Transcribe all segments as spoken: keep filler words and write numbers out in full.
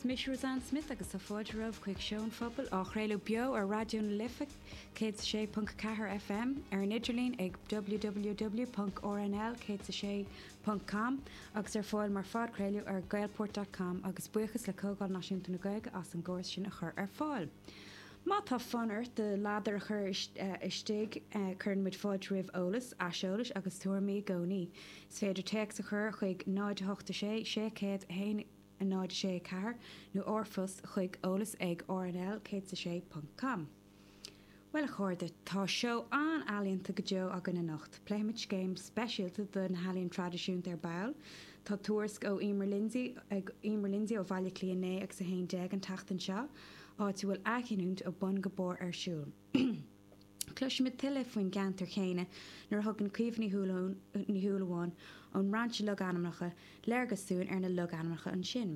Is mise Roseanne Smith agus tá fáilte romhaibh chuig Seó an Phobail á chraoladh beo ar Raidió na Life céad sé ponc ceathair FM ar an idirlíon ag www.rnl céad sé ponc com agus ar fáil mar phodchraoladh ar gaelport.com agus buíochas le Comhdháil Náisiúnta na Gaeilge as an gcóras sin a chur ar fáil. Má tá fonn ort do ladar a chur istigh cuireann muid fáilte roimh eolas, aiseolas agus tuairimí i gcónaí. Is féidir téacs a chur chuig náid hocht sé sé céad haon náid sé ceathair nó r-phost chuig eolas ag rnl céad sé ponc com. Well a chairde tá seó an-ealaíonta go deo againn anocht. Pléifimid scéim speisialta do na healaíona traidisiúnta ar ball. Tá tuairisc ó Emer Lindsay ag Emer Lindsay ó Bhaile Átha Cliath naoi agus a haon déag an tseachtain seo, áit a bhfuil athghiniúint ó bun go barr ar siúl. Cloisfimid tuilleadh faoin gceantar chéanna nuair a thugann Caoimhe Ní Shúilleabháin ón mBrainse Logainmneacha léargas dúinn ar na logainmneacha ansin.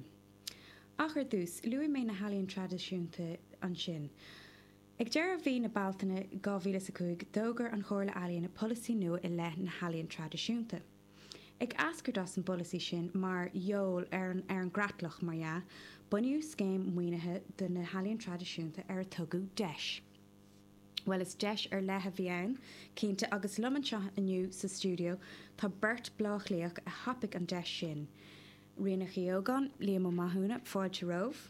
Ach ar dtús, luaigh mé na healaíona traidisiúnta ansin. Ag deireadh mhí na Bealtaine dhá mhíle is a cúig, d'fhógair an Chomhairle Ealaíon polasaí nua i leith na healaíon traidisiúnta. Ag eascairt as an bpolasaí sin mar gheall ar an ar an gcreatlach mar dhea, bunaíodh scéim maoinithe do na healaíon traidisiúnta ar a tugadh DEIS. Well is deis ar leith a bhí ann, cinnte agus liom anseo inniu sa stiúideo tá beirt Bleá Cliathach a thapaigh an deis sin. Ríonach Uí Ógáin, Liam Ó Mathúna, fáilte romhaibh.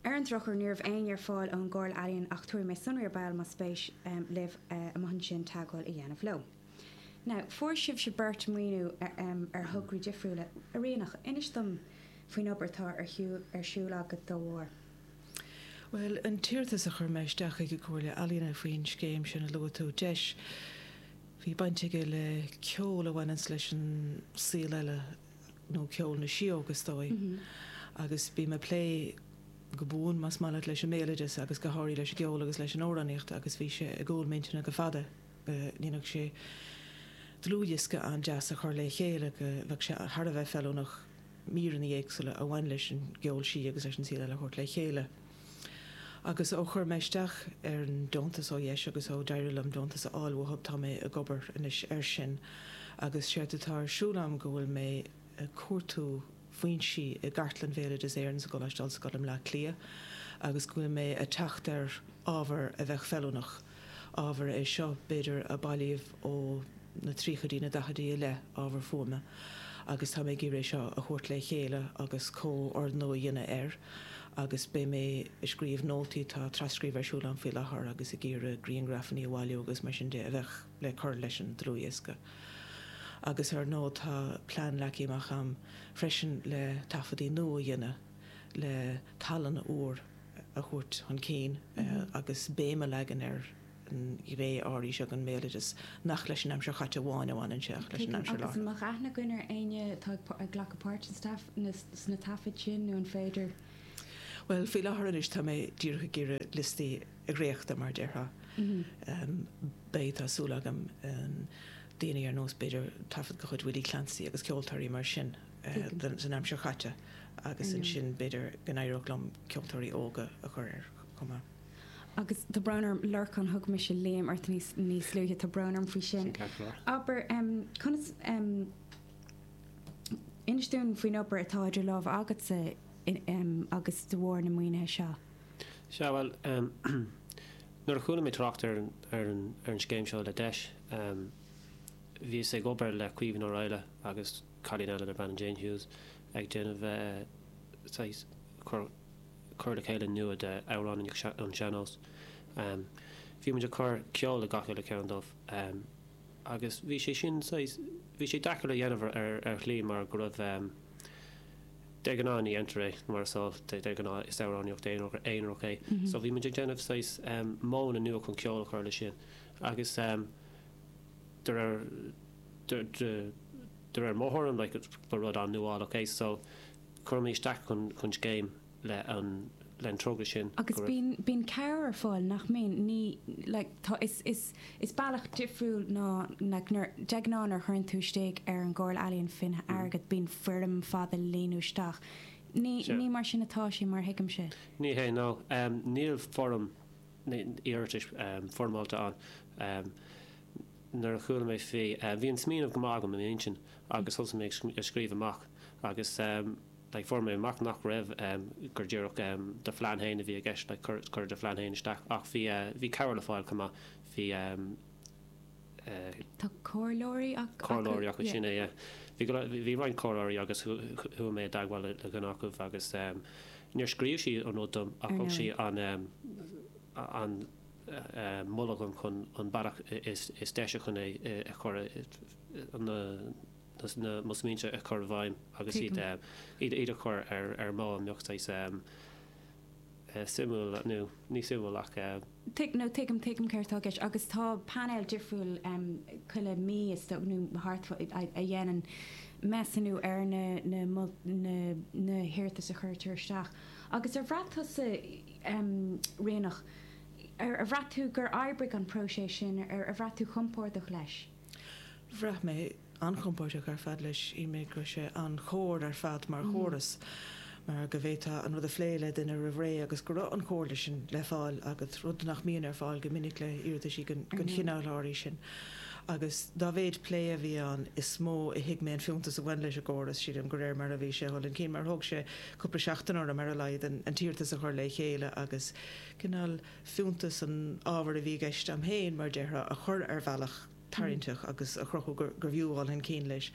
Ar an drochuair ní raibh éinne ar fáil ón gComhairle Ealaíon ach tabharfaidh mé sonraí ar ball más spéis libh amuigh ansin teagmháil a dhéanamh leo. Now, fuair sibhse beirt maoiniú ar thograí difriúla. A Ríonach, inis dom faoin obair atá ar shiúl ar siúl agat dá bharr. Well, an t-iarratas a chuir mé isteach ag an Comhairle Ealaíon faoin scéim sin a luaigh tú DEIS, bhí baint aige le ceol a bhaineanns leis an saol eile nó ceol na síóg is dóigh. Agus bím ag plé go buan más maith leat leis an mbéaloideas agus go háirithe leis an gceol agus leis an amhránaíocht agus bhí sé i gcúl m'intinne go fada go ndéanfadh sé dlúthdhiosca an-deas a chur le chéile go bheadh sé thar a bheith feiliúnach míreanna éagsúla a bhain leis an gceol sí agus leis an saol eile a thabhairt le chéile. Agus ó chuir mé isteach ar an deontas ó DEIS agus ó d'éirigh liom deontas a fháil uathu tá mé ag obair anois air sin agus séard atá ar siúl agam go bhfuil mé ag cuartú foinsí i gCartlann Bhéaloideas Éireann sa gColáiste Ollscoile i mBleá Cliath agus go bhfuil mé ag teacht ar ábhar a bheadh feiliúnach, ábhar é seo b'fhéidir a bailíodh ó na tríochaidí, na daichidí i leith, ábhar fuaime agus tá mé ag iarraidh é seo a thabhairt le chéile agus comhordnú a dhéanamh air agus beidh mé ag scríobh nótaí, tá tras-scríobh ar siúl agam faoi láthair agus ag iarraidh grianghrafanna a bhailiú agus mar sin de a bheadh le cur leis an dlúthdhiosca. Agus ar ndóigh tá plean leagtha amach agam freisin le taifeadtaí nua a dhéanamh le tallann úr a thabhairt chun cinn agus béim a leagan ar an ghné áirithe seo den mbéaloideas nach leis an aimsir chaite amháin a bhaineann sé ach leis an Tuigim. aimsir Agus an láithreach. mbeadh aithne againn ar éinne atá ag glacadh páirt sna taifid sin nó an féidir? Bhuel, faoi láthair anois tá mé díreach ag iarraidh liostaí a dhréachtadh mar a déarfá. Beidh, tá súil agam, daoine ar nós b'fhéidir taifead de chuid Willie Clancy agus ceoltóirí mar sin Tuigim. san aimsir chaite agus Ar ndóigh. ansin b'fhéidir go n-éireodh liom ceoltóirí óga a chur air chomh maith. Agus tá brón orm Lorcán thug mise Liam ort níos níos luaithe tá brón orm faoi sin. Sin ceart go leor. Abair um, conas um, inis dúinn faoin obair atá idir lámha agatsa in, um, agus de bharr na maoinithe seo. Sea bhuel um, nuair a chuala mé trácht ar an, ar an, ar an scéim seo le DEIS, um, bhíos ag obair le Caoimhín Ó Raghallaigh agus cailín eile darb ainm Jane Hughes ag déanamh uh, saghas cur cur le chéile nua de amhráin an sean-nós. Um, bhí muid ag cur ceol le gach uile ceann dóibh um, agus bhí sé sin saghas bhí sé deacair le dhéanamh ar ar shlí mar go raibh um, de ghnáth ní dhéantar é mar is eol de de ghnáth is amhránaíocht aonarach é. So bhí muid ag déanamh saghas um, modhanna nua chun ceol a chur leis sin agus um, de réir de de de réir mo thuairim like, ba rud an-nuálach é so chuir mé isteach chun chun scéim le an le an togra sin Agus go raibh- bíonn bíonn cabhair ar fáil nach mbíonn ní like, tá is is is bealach difriúil ná like, nuair de ghnáth nuair a chuireann tú isteach ar an gComhairle Ealaíon faoin airgead bíonn foirm fada líonadh isteach. Ní Sure. ní mar sin atá sé mar thuigimse. Ní hé nó um, níl foirm iarratais um, foirmeálta ann. Um, nuair a chuala mé faoi uh, bhí an smaoineamh go maith agam i m'intinn agus thosaigh mé ag scríobh amach agus um, like fuair mé amach nach raibh um, gur díreach um, do phlean féin a bhí i gceist like cur cur do phlean féin isteach ach bhí uh, bhí cabhair le fáil chomh maith bhí um, uh, Tá comhairleoirí ac- comhairleoirí acu yeah. sin é yeah. Bhí go le- bhí roinnt comhairleoirí agus chuaigh mé i dteagmháil le le dhuine acu agus um, níor scríobh sí an rud dom ach Ar thug sí ndóigh. an um, an uh, moladh dom chun an bealach is is deise chun é a chur na na mo smaointe a chur i bhfeidhm agus iad Tuigim. um, iad iad a chur ar ar modh a mbeadh saghas um, uh, suimiúil nó ní suimiúil ach uh, Tuig no tuigim tuigim céard atá i gceist agus tá panel difriúil um, chuile mí is dóigh nó thart fá- a a dhéanann measúnú ar na na mol- na na hiarratais a chuirtear isteach. Agus ar bhraith tusa um, Ríonach ar ar bhraith tú gur oibrigh an próiseas sin ar ar bhraith tú compordach leis. Bhraith mé an-chompordach ar fad leis shíl mé go raibh sé an-chóir ar fad mar chóras. mar go bhféadfá an rud a phlé le duine roimh ré agus go raibh an chomhairle sin le fáil agus rud nach mbíonn ar fáil go minic le hiarratais den Ar ndóigh. chineál áirithe sin. Agus dá mhéad plé a bhí ann is mó a thuig mé an fiúntas a bhain leis an gcóras sílim de réir mar a bhí sé chun cinn mar thóg sé cúpla seachtain orm ar a laghad an an t-iarratas a chur le chéile agus cineál fiúntas an ábhar a bhí i gceist agam féin mar déarfá a chur ar bhealach tarraingteach agus a chruthú gur gur bhfiú dul chun cinn leis.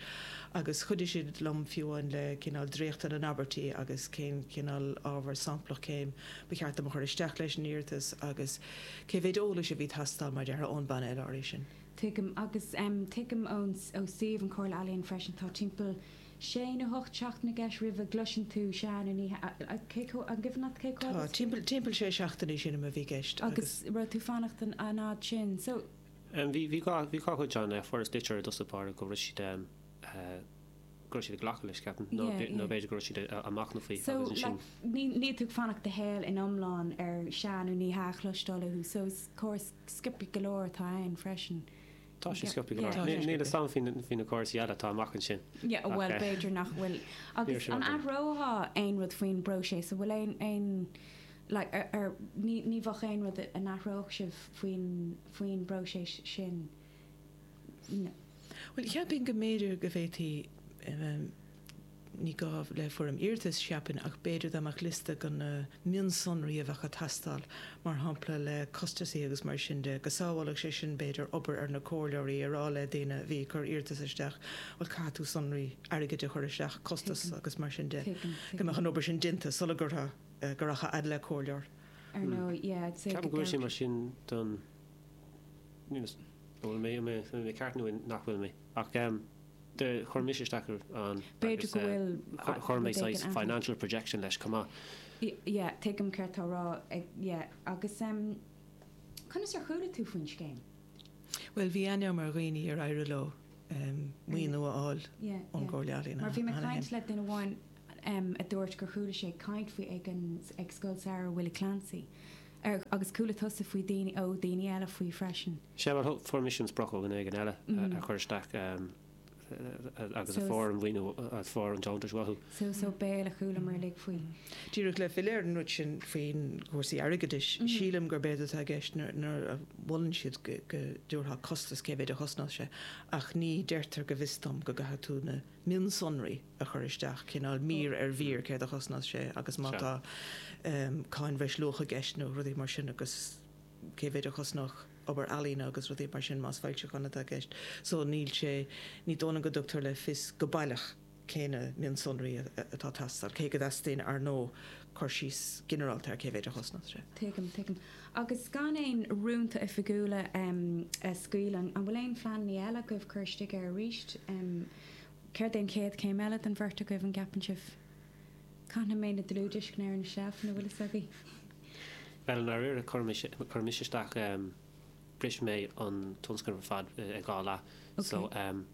Agus chuidigh siad liom fiú amháin le cineál dréachtadh na n-abairtí agus cén cineál ábhar samplach céim ba cheart dom a chur isteach leis an iarratas agus cé mhéad eolais a bhí ag teastáil mar déarfá ón bpainéal áirithe sin. Tuigim agus um, tuigim ón ó suíomh an Chomhairle Ealaíon freisin tá timpeall sé nó hocht seachtain i gceist roimh a gcloiseann tú sea nó ní cé an gcuimhin leat cé Tá timpeall timpeall sé seachtainí sin a bhí i gceist agus raibh tú ag fanacht an an fhad sin. So Um, bhí bhí dhá bhí dhá chuid ann fuaireas litir i dtosach báire go raibh siad um, uh, go raibh siad ag glacadh leis ceapaim nó Yeah, b'fhéidir- nó yeah. b'fhéidir go raibh siad a- a machnamh faoi So agus ansin like, ní ní tú ag fanacht do shaol in iomlán ar sea nó ní hea a chloisteáil uathu, so is córas sciobtha go leor atá ann freisin. tá sé Yeah. sciobtha go Yeah. leor. Tá sé Ní níl sciobtha. a fhios agam faoi na córas eile atá amach ansin. Yeah, well Ach, eh, b'fhéidir nach bhfuil. Agus sin an agam. athrófá aon rud faoin bpróiseas, so bhfuil aon aon like, ar, ar, ní, ní bheadh aon rud a n-athródh sibh faoin faoin bpróiseas sin. No. Well cheapfainn go mb'fhéidir go bhféadfaí um, ní gá le foirm iarratais cheapfainn ach b'fhéidir dá mbeadh liosta de na mionsonraí a bheadh ag teastáil mar shampla le costasaí agus mar sin de go sábhálfadh sé sin b'fhéidir obair ar na comhairleoirí ar á le daoine a bhí ag cur iarratas isteach well caithfidh tú sonraí airgid a chur isteach costas Tuigim. agus mar sin de Tuigim, go mbeadh an obair sin déanta sula gcuirfeá go rachfá fhad le comhairleoir. Ar nó yeah, I'd say Ceapaim go go bhfuil sé gceart- mar sin don níl fhios- bhfuil mé mé mé ceart nó nach bhfuil mé ach um, de chuir mise isteach an B'fhéidir agus, go eh, bhfuil chuir chuir mé rud éigin saghas financial projection leis chomh maith. Y- Yeah, tuigim céard tá rá ag yeah, agus um, conas ar chuala tú faoin scéim? Well bhí aithne mar dhaoine ar éirigh leo um, maoiniú a fháil Yeah, ón yeah. gComhairle Ealaíon. Mar bhí mé cheana caint féin. le duine amháin um, a dúirt gur chuala sé caint faoi ag an ag Scoil Samhraidh Willie Clancy. Ar, agus chuala tusa faoi daoine ó daoine eile faoi freisin. Sé mar fuair mise an sprioc ó dhuine éigin eile Mm. a chur isteach um, agus So a is- fuair an mhaoiniú a fuair an deontas uathu. So so béal a chualamar uilig faoi. Díreach le filleadh ar an rud sin faoin gcúrsaí airgeadais Mhm. sílim gur b'fhéidir atá i gceist nuair a mholann siad go go dtabharfá costas cé mhéad a chosnódh sé ach ní deirtear go bhfios dom go gcaithfidh tú na mionsonraí a chur isteach cineál mír ar mhír céard a chosnódh sé agus má Sea. tá um, cáin bhreisluacha i gceist nó rudaí mar sin agus cé mhéad a chosnódh obair ealaíne agus rudaí mar sin más foilseachán atá i gceist. So níl sé ní dóna go dtugtar le fios go baileach cé na mionsonraí atá ag teastáil cé go dteastaíonn ar ndóigh cur síos ginearálta ar cé mhéad a chosnódh sé. Tuigim tuigim. Agus gan aon rúnta oifigiúla um, a scaoileadh an bhfuil aon phleananna eile agaibh cur isteach air arís um, Céard é an chéad chéim eile den bheirt agaibh an gceapann sibh? Caithfidh mé na dlúthdhiosca ar na seilfeanna bhfuil fhios agaibh. Well nuair a chuir mise isteach um, bhris mé an tionscnamh ar fad ag dhá leath. So um,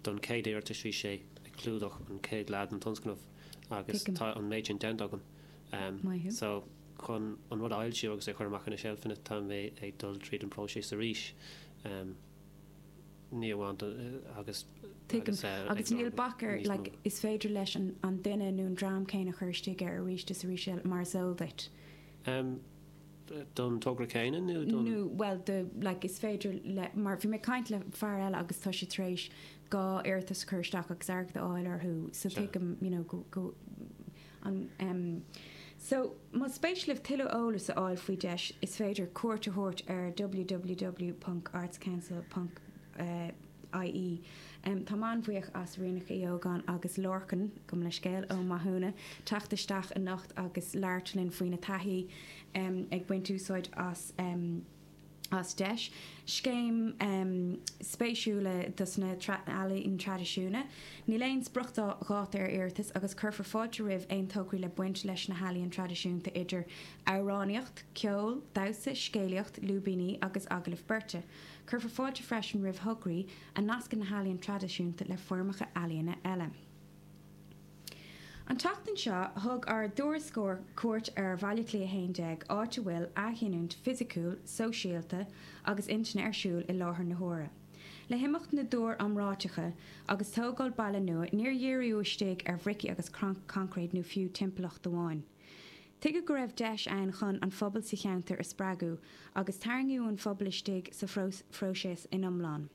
don chéad iarratas bhí sé ag clúdach an chéad leath den tionscnamh agus Tuigim. tá an méid sin déanta agam. Um, Maith thú. so chun an rud a fhoilsiú agus é chur amach ar na seilfeanna tá mé ag dul tríd an próiseas arís. Um, ní amháin do- agus Tuigim. agus, eh, Agus ag níl lorg bac ar níos mó. like, is féidir leis an, an duine nó an dream céanna chur isteach air arís is arís eile mar is eol duit. Um, don togra céanna nó don Nó well the like is féidir le mar bhí mé caint le fear eile agus tá sé tar éis dhá iarratas chur isteach agus airgead a fháil orthu so Sure. tuigim you know go go An, um, so má spéis libh tuilleadh eolas a fháil faoi deis is féidir cuairt a thabhairt ar www.artscouncil.ie. Um, tá an-bhuíoch as Ríonach Uí Ógáin agus Lorcan gabh mo leithscéal Ó Mathúna teacht isteach anocht agus labhairt linn faoina taithí um, ag baint úsáid as um, as deis. Scéim um, spéisiúla dos na ealaíona traidisiúnta. Níl aon spriocdháta ar iarratas agus cuirfear fáilte roimh aon tograí le baint leis na healaíona traidisiúnta idir amhránaíocht, ceol, damhsa, scéalaíocht, lúibíní agus agallamh beirte. Cuirfear fáilte freisin roimh thograí a nascann na healaíona traidisiúnta le foirmeacha ealaíona eile. An tseachtain seo thug ár dtuairisceoir cuairt ar Bhaile Átha Cliath a haon déag áit a bhfuil athghiniúint fisiciúil, sóisialta agus intinne ar siúl i láthair na huaire. Le himeacht na dtúr iomráiteacha agus tógáil baile nua níor díríodh istigh ar bhricí agus coincréit nó fiú timpeallacht amháin. Tuigeadh go raibh deis ann chun an phobal sa cheantar a spreagadh agus tarraingíodh an phobal istigh sa phróiseas in iomlán.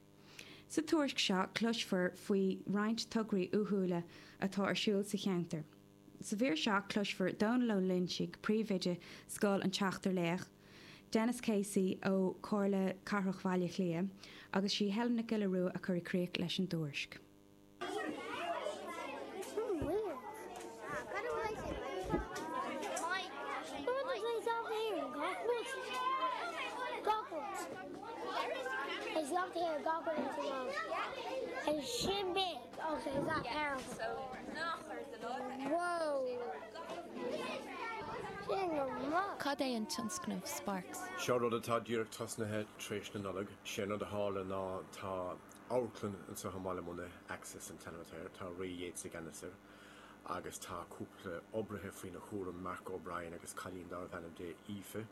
Sa tuairisc seo cloisfear faoi roinnt tograí uathúla atá ar siúl sa cheantar. Sa mhír seo cloisfear Dónal Ó Loinsigh príomhoide Scoil an tSeachtar Laoch, Denis Casey ó Chomhairle Cathrach Bhaile Átha Cliath, agus sí Helen Nic Giolla Rua a chuir críoch leis an dtuairisc. Sin big. Okay, is that powerful? Whoa. Sin go maith. Cad é an tionscnamh Sparks? Seo rud atá díreach tosnaithe tar éis na Nollag, sé an rud a tharla ná tá amharclann anseo i mBaile Munna, Axis an t-ainm atá air, tá Ray Yeates i gceannas air agus tá cúpla oibrithe faoina chúram Mark O'Brien agus cailín darbh ainm di Aoife.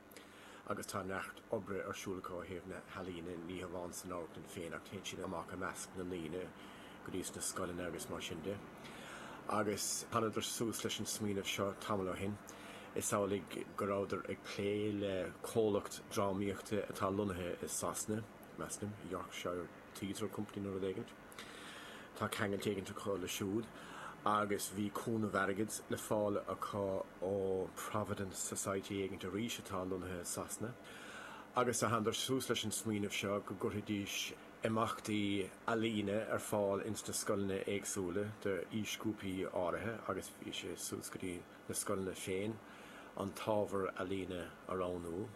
Agus tá neart oibre ar siúl acu ó thaobh na healaíne ní hamháin san amharclann féin ach téann siad amach i measc na ndaoine go dtí sna scoileanna agus mar sin de. Agus thánadar suas leis an smaoineamh seo tamall ó shin. Is amhlaidh go rabhadar ag plé le comhlacht drámaíochta atá lonnaithe i Sasana, measaim, Yorkshire Theatre Company nó rud éigin. Tá ceangal éigin acu le siúd agus bhí cúnamh airgid le fáil acu ó Providence Society éigin arís atá lonnaithe i Sasana. Agus a thánadar suas leis an smaoineamh seo go gcuirfidís imeachtaí ealaíne ar fáil ins na scoileanna éagsúla de aoisghrúpaí áirithe agus bhí sé suas go dtí na scoileanna féin an t-ábhar ealaíne a roghnú.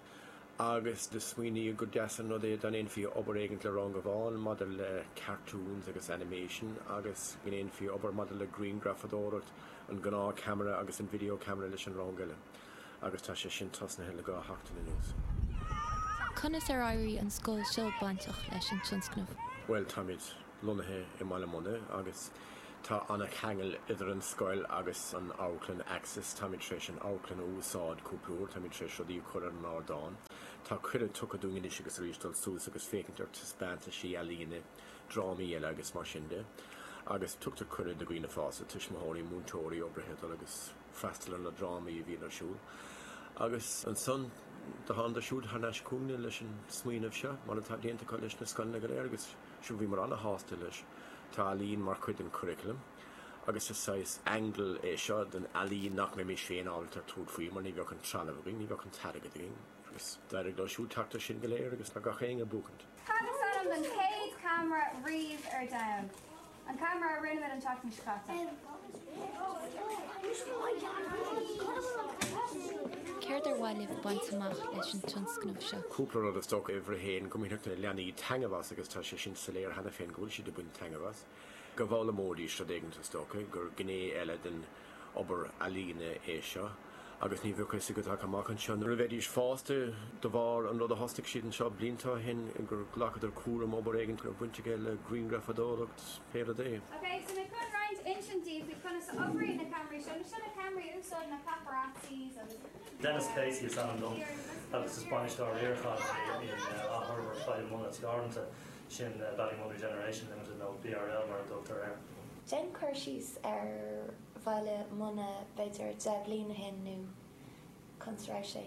Agus do smaoiníodh gur deas an rud é dá ndéanfaí obair éigin le rang amháin maidir le cartoons agus animation agus go ndéanfaí obair maidir le grianghrafadóireacht, an gnáth ceamara agus an video camera leis an rang eile. Agus tá sé sin tosnaithe le dhá sheachtain anuas. Conas ar éirigh an scoil seo bainteach leis an tionscnamh? Well, táimid lonnaithe i mBaile Munna agus tá an-cheangal idir an scoil agus an amharclann Axis, táimid tar éis an amharclann a úsáid cúpla uair, táimid tar éis rudaí a chur ar an ardán. Tá cuireadh tugtha dúinn anois agus arís dul suas agus féachaint ar taispeántaisí ealaíne, drámaí eile agus mar sin de. Agus tugtar cuireadh do dhaoine fásta, tuismitheoirí, múinteoirí, oibrithe dul agus freastal ar na drámaí a bhíonn ar siúl. Agus ansan do thánadar siúd thar n-ais chugainne leis an smaoineamh seo, mar atá déanta acu leis na scoileanna go léir agus sin bhíomar an-shásta leis. Tá ealaín mar chuid den curriculum, agus is saghas angle é seo den ealaín nach mbeimis féin ábalta tabhairt faoi mar ní bheadh an trealamh againn, ní bheadh an t-airgead againn, agus d'éirigh leo siúd teacht air sin go léir agus tá gach éinne ag buachaint. Cad is ainm don chéad camera riamh ar domhan? An camera a rinne an tseachtain seo caite. Céard ar mhaith libh baint amach leis an tionscnamh seo? Cúpla rud is dócha uimhir a haon go mbainfeadh na leanaí taitneamh as agus tá sé sin soiléir cheana féin go bhfuil siad ag baint taitneamh as. Go bhfoghlaimeoidís rud éigin is dócha gur gné eile den obair ealaíne é seo, agus ní bheadh a fhios agat ach amach anseo nuair a bheidís fásta de bharr an rud a thosnaigh siad anseo blianta ó shin gur ghlacadar cúram obair éigin go raibh baint aige le grianghrafadóireacht pé rud é. Okay, so mé chun roinnt insint daoibh faoi conas a oibríonn na ceamaraí seo, seo na ceamaraí a úsáideann na paparazzis agus Denis Casey is ainm dom agus is bainisteoir riaracháin in Athfhorbairt Bhaile Munna Teoranta sin Ballymun Regeneration Limited nó BRL mar a dtugtar air. Déan cur síos ar Bhaile Munna b'fhéidir deich bliain ó shin nó conas a raibh sé.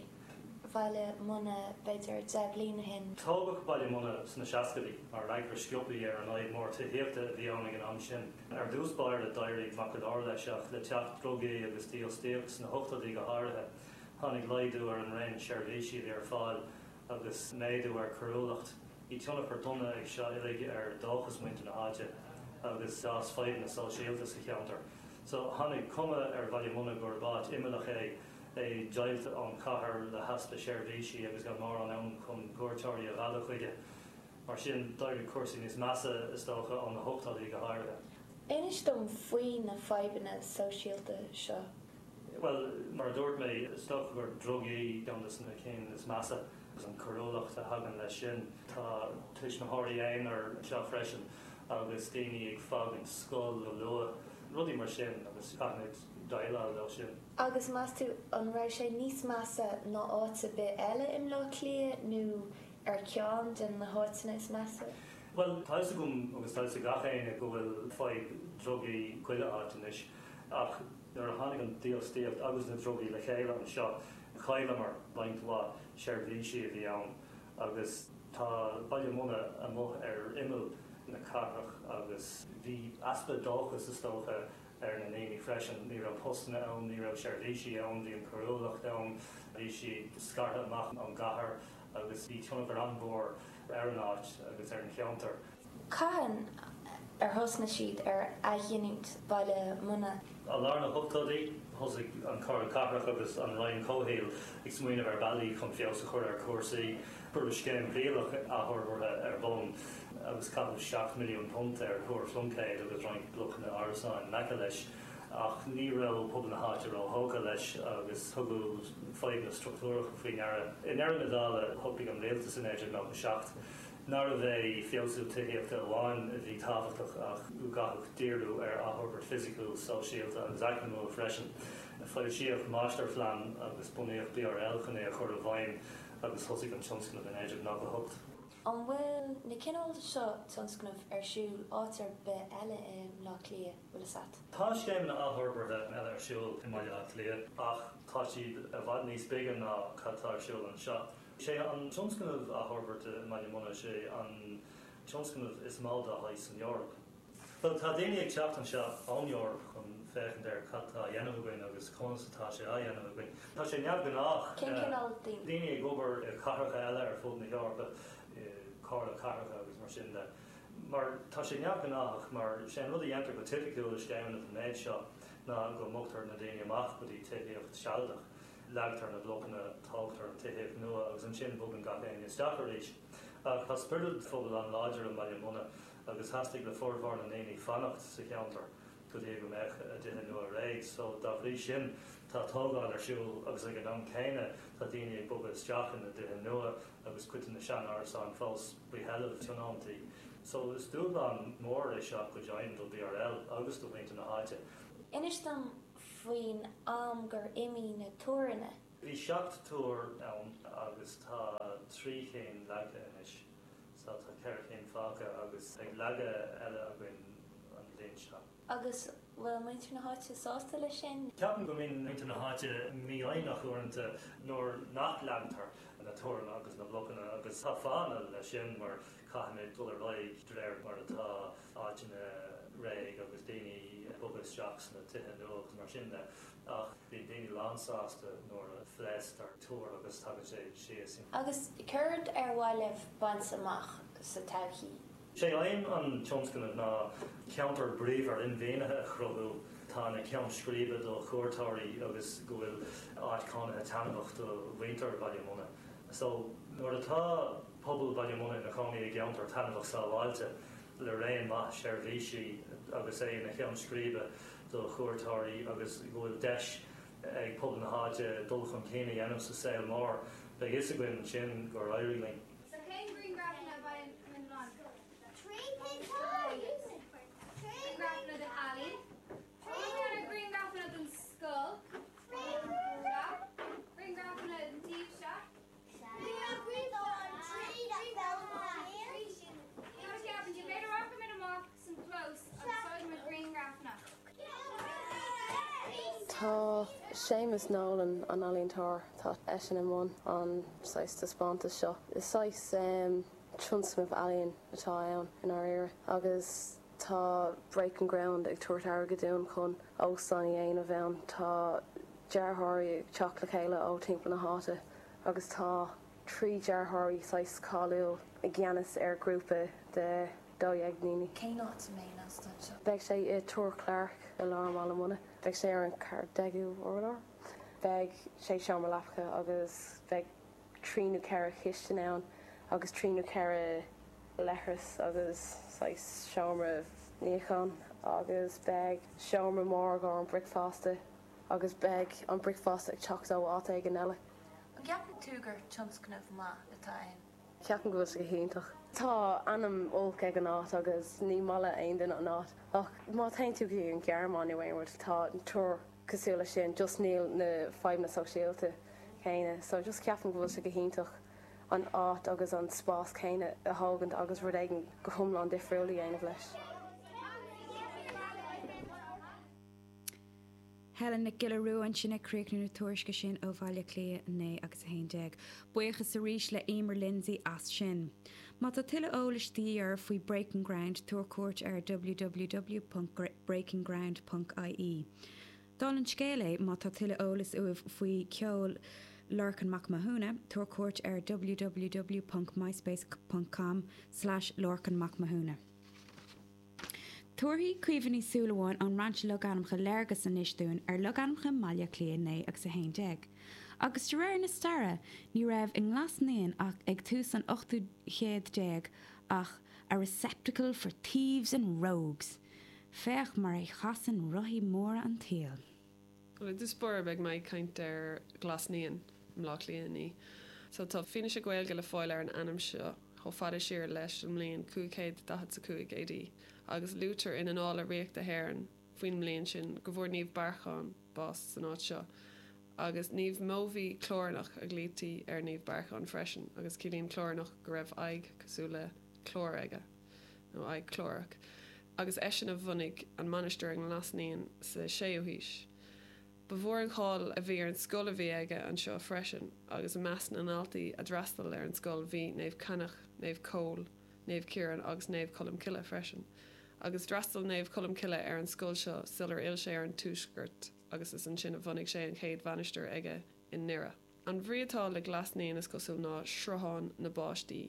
Bhaile Munna b'fhéidir deich bliain ó shin? Tógadh Baile Munna sna seascaidí mar fhreagra sciobtha ar an fhadhb mór tithíochta a bhí ann ag an am sin. Ar dtús báire d'éirigh maith go leor leis ach le teacht drugaí agus dífhostaíocht sna hochtóidí go háirithe, tháinig laghdú ar an raon seirbhísí a bhí ar fáil agus méadú ar choiriúlacht. Bhí tionchar dona ag seo uilig ar dóchas muintir na háite agus d'fhás fadhbanna sóisialta sa cheantar. So tháinig cuma ar Bhaile Munna gurb áit imeallach é é deighilte ón chathair le heaspa seirbhísí agus gan mórán ann chun cuairteoirí a mhealladh chuige. Mar sin d'éirigh cúrsaí níos measa is dócha ó na hochtóidí go háirithe. Inis dom faoi na fadhbanna sóisialta seo. Well, mar a dúirt mé is dócha gur drugaí ceann de na cinn is measa agus an choiriúlacht a thagann leis sin. Tá tuismitheoirí aonair anseo freisin agus daoine ag fágaint scoil go luath, rudaí mar sin agus caithfimid déileáil leo sin. Agus meas tú an raibh sé níos measa ná áit ar bith eile i mBleá Cliath nó ar ceann de na háiteanna is measa? Well, tá fhios agam agus tá fhios ag gach éinne go bhfuil fadhb drugaí chuile áit anois, ach nuair a tháinig an dífhostaíocht agus na drugaí le chéile anseo, chailleamar roinnt mhaith seirbhísí a bhí ann agus tá Baile Munna amuigh ar imeall na cathrach agus bhí easpa dóchas is dócha ar na ndaoine freisin. Ní raibh postanna ann, ní raibh seirbhísí ann, bhí an choiriúlacht ann, bhí siad scartha amach ón gcathair agus bhí tionchar an-mhór ar an áit agus ar an cheantar. Cathain ar thosnaigh siad ar athghiniúint Baile Munna? I lár na hochtóidí thosaigh an Chomhairle Cathrach agus an Roinn Comhshaoil ag smaoineamh ar bhealaí chun feabhas a chur ar chúrsaí. Cuireadh scéim thrialach athfhorbartha ar bun agus caitheadh seacht milliún punt ar Thúr Phluincéid agus roinnt blocanna árasáin in aice leis, ach ní raibh pobal na háite róthógtha leis agus tugadh fadhbanna struchtúracha faoi ndeara. I ndeireadh na dála shocraigh an rialtas in naoi déag nócha seacht nárbh é feabhsú tithíochta amháin a bhí tábhachtach ach go gcaithfeadh díriú ar athfhorbairt fisiciúil, sóisialta agus eacnamúil freisin. Foilsíodh máistirphlean agus bunaíodh BRL chun é a chur i bhfeidhm agus thosaigh an tionscnamh in naoi déag nócha hocht. An bhfuil na cineál seo tionscnamh ar siúl áit ar bith eile i mBleá Cliath, bhfuil fhios agat? Tá scéimeanna athfhorbartha eile ar siúl i mBaile Átha Cliath ach tá siad i bhfad níos bige ná cad tá ar siúl anseo. Sé an tionscnamh athfhorbartha i mBaile Munna sé an tionscnamh is mó dá shaghas san Eoraip. Well tá daoine ag teacht anseo ón Eoraip chun féachaint ar cad tá á dhéanamh againn agus conas atá sé á dhéanamh againn. Tá sé neamhghnách. Cén cineál daoine? Daoine ag obair i cathracha eile ar fud na hEorpa, i comhairle cathracha agus mar sin de. Mar tá sé neamhghnách mar sé an rud a dhéantar go tipiciúil i scéimeanna den méid seo ná go mbogtar na daoine amach go dtí tithíocht sealadach. Leagtar na blocanna, tógtar an tithíocht nua agus ansin bogann gach éinne isteach arís. Ach tá spiorad phobail an-láidir i mBaile Munna agus theastaigh le formhór na ndaoine fanacht sa cheantar go dtí go mbeadh a dtithe nua réidh. So dá bhrí sin tá tógáil ar siúl agus ag an am céanna tá daoine ag bogadh isteach ina dtithe nua agus cuid de na sean-árasáin fós faoi sheilbh tionóntaí. So is dúshlán mór é seo go deimhin do BRL agus do mhuintir na háite. Inis dom faoin am gur imigh na túranna. Bhí seacht túr ann agus tá trí cinn leagtha anois. So tá ceithre cinn fágtha agus beidh leagadh eile againn an bhliain seo. Agus bhfuil muintir na háite sásta leis sin? Ceapaim go mbíonn muintir na háite mífhoighneach uaireanta nuair nach leagtar na túranna agus na blocanna agus tá fáthanna leis sin mar caithfimid dul ar aghaidh de réir mar atá áiteanna réidh agus daoine ag bogadh isteach sna tithe nua agus mar sin de. Ach bíonn daoine lánsásta nuair a phléasctar túr agus tagann sé síos. Agus céard ar mhaith libh baint amach sa todhchaí? Sé aidhm an tionscnaimh ná ceantar bríomhar inmhianaithe a chruthú atá ina cheann scríbe do chuairteoirí agus go bhfuil áit chónaithe taitneamhach do mhuintir Bhaile Munna. So nuair atá pobal Bhaile Munna ina chónaí i gceantar taitneamhach sábháilte le raon maith seirbhísí agus é ina cheann scríbe do chuairteoirí agus go bhfuil deis ag pobal na háite dul chun cinn a dhéanamh sa saol mór, beidh fhios againn ansin gur éirigh linn. So cén grianghrafanna a bhfaigheann an Trí pictiúr. Grianghrafanna den ealaín. Grianghrafanna den scoil. Grianghrafanna den taobh seo. B'fhéidir rachaimid amach san clós agus tógfaimid grianghrafanna. Tá Séamus Nolan an ealaíontóir tá eisean i mbun an saghas taispeántas seo. Is saghas um, tionscnamh ealaíon atá ann i ndáiríre agus tá Breaking Ground ag tabhairt airgead dúinn chun óstán a dhéanamh ann tá dearthóirí ag teacht le chéile ó timpeall na háite agus tá trí dearthóirí saghas cáiliúil i gceannas ar grúpa de dó dhéag daoine. Cén áit a mbeidh an óstán seo? Beidh sé i Túr Clark i lár Bhaile Munna. Beidh sé ar an ceathrú déag urlár. Beidh sé seomra leapa agus beidh trí nó ceithre chistin ann agus trí nó ceithre leithreas agus saghas seomra níocháin agus beidh seomra mór go an bricfeasta agus beidh an bricfeasta ag teacht ó áit éigin eile. An gceapann tú gur tionscnamh maith atá ann? Ceapaim go bhfuil sé go hiontach. Tá ainm olc ag an áit agus ní maith le aon duine an áit. Ach má théann tú go dtí an Ghearmáin nó aon rud tá túr cosúil leis sin, just níl na fadhbanna sóisialta céanna, so just ceapaim go bhfuil sé go hiontach an áit agus an spás céanna a thógaint agus rud éigin go hiomlán difriúil a dhéanamh leis. Helen Nic Giolla Rua ansin ag críochnú na tuairisce sin ó Bhaile Átha Cliath a naoi agus a haon déag. Buíochas arís le Emer Lindsay as sin. Má tá tuilleadh eolais de dhíth oraibh faoi Breaking Ground, tabhair cuairt ar www ponc breakingground ponc ie. Dála an scéil é, má tá tuilleadh eolais uaibh faoi cheol Lorcan Mac Mathúna, tabhair cuairt ar www ponc myspace ponc com slash lorcanmacmathúna. Tabharfaidh Caoimhe Ní Shúilleabháin ón mBrainse Logainmneacha léargas anois dúinn ar logainmneacha mBaile Átha Cliath naoi agus a haon déag. Agus de réir na staire, ní raibh i nGlas Naíon ach ag tús an ochtú chéad déag ach a receptacle for thieves and rogues. Féach mar a chasann rothaí móra an tsaoil. Bhuel, i dtús báire beidh mé ag caint ar Ghlas Naíon i mBleá Cliath a naoi. So tá fianaise Gaeilge le fáil ar an ainm seo chomh fada siar leis an mbliain cúig chéad daichead 's a cúig AD agus luaitear in Annála Ríochta na hÉireann faoin mbliain sin go bhfuair Naomh Bearchán bás san áit seo. Agus Naomh Mobhí Clárnach a ghlaoití ar Naomh Bearchán freisin agus ciallaíonn Clárnach go raibh aghaidh cosúil le clár aige, nó aghaidh chlárach. Agus eisean a bhunaigh an mainistir i nGlas Naíon sa séú haois. Ba mhór an cháil a bhí ar an scoil a bhí aige anseo freisin agus i measc na ndaltaí a d'fhreastail ar an scoil bhí Naomh Cainneach, Naomh Cóil, Naomh Ciarán agus Naomh Colm Cille freisin. Agus d'fhreastail Naomh Colm Cille ar an scoil seo sular fhill sé ar an tuaisceart agus is ansin a bhunaigh sé an chéad mhainistir aige i nDoire. An bhrí atá le Glas Naíon is cosúil ná sruthán na bpáistí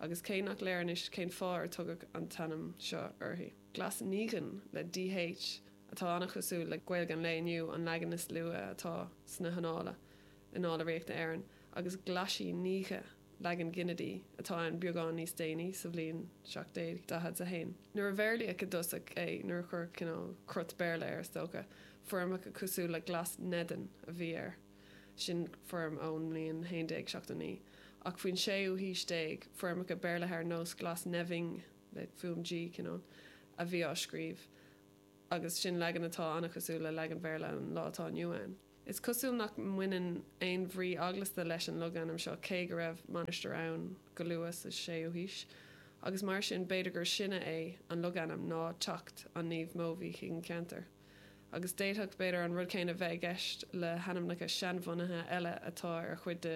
agus cé nach léir anois cén fáth ar tugadh an t-ainm seo uirthi. Glas Níghin le DH atá an-chosúil le Gaeilge an lae inniu, an leagan is luaithe atá sna hannála, Annála Ríochta Éireann, agus Glaisí Níghe, leagan ginidí, atá ann beagán níos déanaí, sa bhliain seacht déag daichead a haon. Nuair a Bhéarlaíodh i dtosach é, nuair a cuireadh cineál crot Béarla air, is dócha, foirmeacha cosúil le Glasnevin a bhí air, sin foirm ón mbliain haon déag seachtó naoi, ach faoin séú haois déag, foirmeacha Béarlaithe ar nós Glasneving, le fuaim G, cineál, a bhí á scríobh. agus sin leagan atá an-chosúil le leagan Bhéarla an lá atá inniu ann. Is cosúil nach mbaineann aon bhrí eaglasta leis an logainm seo cé go raibh mainistir ann go luath sa séú haois, agus mar sin b'fhéidir gur sine é an logainm ná teacht an Naoimh Mobhí chuig an cheantar. Agus d'fhéadfadh, b'fhéidir, an rud céanna bheith i gceist le hainmneacha seanbhunaithe eile atá ar chuid de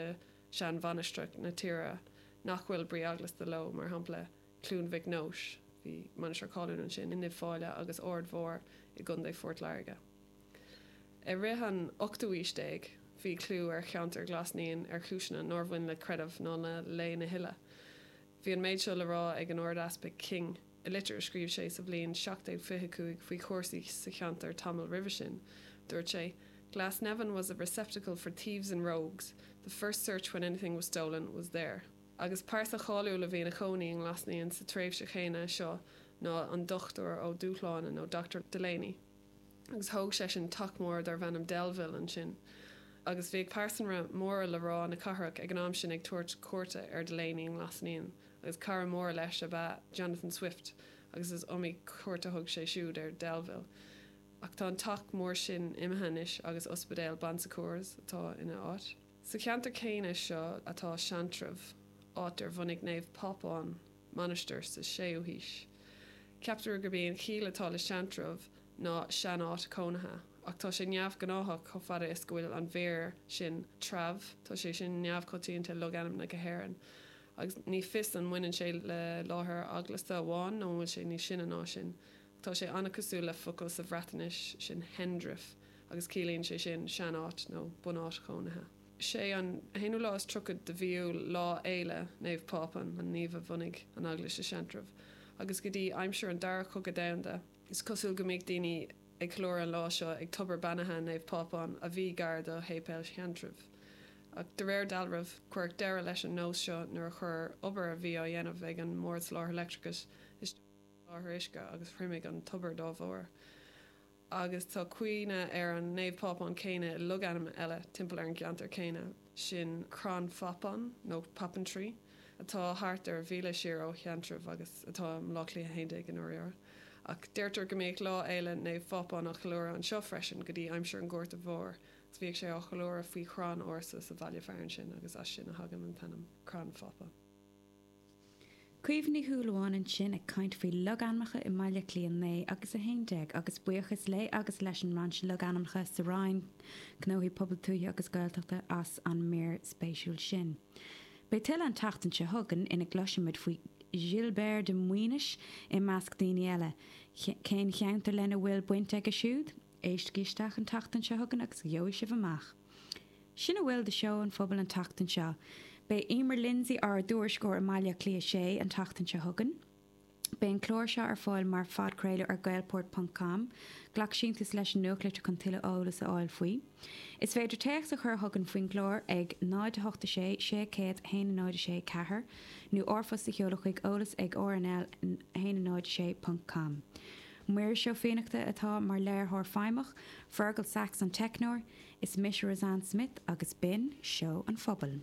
sheanmhainistreacha na tíre nach bhfuil brí eaglasta leo, mar shampla Cluain Mhic Nóis, bhí mainistir cáiliúil ansin, in Uíbh Fhailí agus Aird Mhór i gContae Phort Láirge. I rith an ochtú haois déag, bhí clú ar cheantar Ghlas Naíon ar chúiseanna nár bhain le creideamh ná le Lé na hUile. Bhí an méid seo le rá ag an Ard-Easpag King i litir a scríobh sé sa bhliain seacht déag fiche a cúig faoi chúrsaí sa cheantar tamall roimhe sin. Dúirt sé, Glasnevin was a receptacle for thieves and rogues, the first search when anything was stolen was there. Agus pearsa cháiliúil a bhí ina chónaí i nGlas Naíon sa tréimhse chéanna seo ná an Dochtúir Ó Dúshláine nó Doctor Delaney. Agus thóg seisean teach mór darbh ainm Delville ansin. Agus bhíodh pearsanra móra le rá na cathrach ag an am sin ag tabhairt cuairte ar Delaney i nGlas Naíon agus cara mór leis ab ea Jonathan Swift agus is iomaí cuairt a thug sé siúd ar Delville. Ach tá an teach mór sin imithe anois agus ospidéal Bon Secours atá ina áit. Sa cheantar céanna seo atá Seantrabh, áit ar bhunaigh Naomh Pápán mainistir sa séú haois. Ceaptar gurb í an chiall atá le Seantrabh ná sean-áit chónaithe, Ach tá sé neamhghnáthach chomh fada is go bhfuil an mhír sin treabh, tá sé sin neamhchoitianta i logainmneacha hÉireann. Agus ní fios an mbaineann sé le láthair eaglasta amháin nó an bhfuil sé níos sine ná sin. Tá sé an-chosúil le focal sa Bhreatnais sin hendrif agus ciallaíonn sé sin seanáit nó bunáit chónaithe. Sé an haonú lá is tríocha de mhí Iúil lá fhéile Naomh Pápán an naomh a bhunaigh an eaglais i Seantrabh. Agus go dtí aimsir an dara cogadh domhanda, is cosúil go mbíodh daoine ag ceiliúradh an lá seo ag tobar beannaithe Naomh Pápán a bhí gar do shéipéal Sheantraibh. Ach de réir dealraimh, cuireadh deireadh leis an nós seo nuair a chuir obair a bhí á dhéanamh ag an mBord Soláthair Leictreachais isteach ar an soláthar uisce agus thriomaigh an tobar dá bharr. Agus tá cuimhne ar an Naomh Pápán céanna i logainm eile timpeall ar an gceantar céanna, sin Crann Phapáin nó Poppintree, atá thart ar mhíle siar ó Sheantrabh agus atá i mBaile Átha Cliath a haon déag i ndáiríre. Ach deirtear go mbíodh Lá Fhéile Naomh Phápáin á cheiliúradh anseo freisin go dtí aimsir an Ghorta Mhóir, agus bhíodh sé á cheiliúradh faoi chrann ársa sa bhaile fearainn sin agus as sin a thagann an t-ainm Crann Phápáin. Caoimhe Ní Shúilleabháin ansin ag caint faoi logainmneacha i mBaile Átha Cliath naoi agus a haon déag agus buíochas léi agus leis an mBrainse Logainmneacha sa Roinn Gnóthaí Pobail Tuaithe agus Gaeltachta as an mír spéisiúil sin. Beidh tuilleadh an tseachtain seo chugainn ina gcloisfimid faoi Gilbert de Maoinis i measc daoine eile. Cén cheantar lena bhfuil baint aige siúd? Éistigí isteach an tseachtain seo chugainn agus gheobhaidh sibh amach. Sin a bhfuil de Seó an Phobail an tseachtain seo. Beidh Emer Lindsay ár dtuairisceoir i mBaile Átha Cliath sé an tseachtain seo chugainn. Beidh an clár seo ar fáil mar phodchraoladh ar gaelport ponc com. Glac síntiús leis an nuachtlitir chun tuilleadh eolas a fháil faoi. Is féidir téacs a chur chugainn faoin gclár ag náid a hocht a sé sé céad a haon náid a sé ceathair nó r-phost a sheoladh chuig eolas ag R N L a haon náid a sé ponc com. Muiris Ó Fiannachta atá mar léiritheoir feidhmeach, Fergal Sachs an teicneoir, is mise Roseanne Smith agus b'in Seó an Phobail.